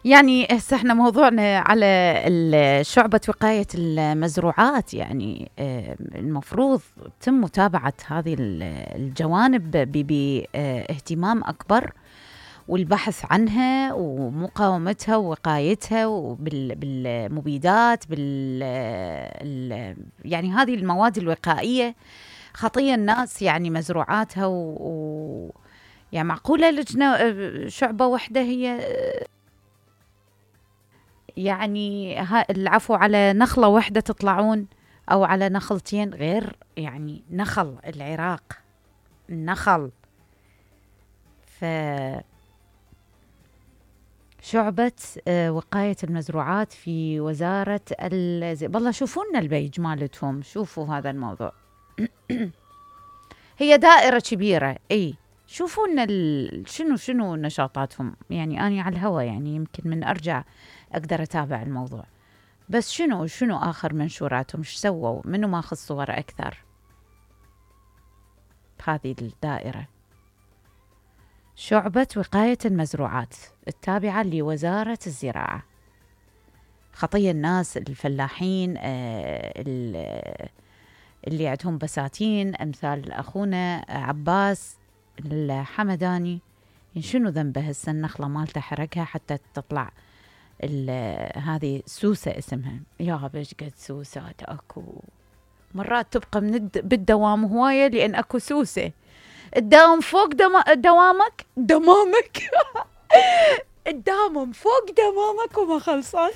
يعني هسه احنا موضوعنا على شعبة وقاية المزروعات، يعني المفروض تم متابعة هذه الجوانب باهتمام أكبر، والبحث عنها ومقاومتها ووقايتها بالمبيدات يعني هذه المواد الوقائية خطية الناس يعني مزروعاتها يعني معقولة لجنة شعبة واحدة هي يعني العفو على نخلة واحدة تطلعون أو على نخلتين، غير يعني نخل العراق النخل. شعبة وقاية المزروعات في وزارة والله شوفوا لنا البيج مالتهم، شوفوا هذا الموضوع. هي دائرة كبيرة، اي شوفوا لنا شنو نشاطاتهم، يعني أنا على الهوا يعني يمكن من أرجع أقدر أتابع الموضوع، بس شنو آخر منشوراتهم، ايش سووا، منو ماخذ صور أكثر بهذه الدائرة. شعبة وقاية المزروعات التابعة لوزارة الزراعة، خطية الناس الفلاحين اللي عندهم بساتين أمثال أخونا عباس الحمداني، شنو ذنبه هسه النخلة مالته حركها حتى تطلع هذه سوسة اسمها، يا بش قد سوسات اكو مرات تبقى بالدوام هواية لأن اكو سوسة الداوم فوق دمامك الدامم فوق دمامك وما خلصان.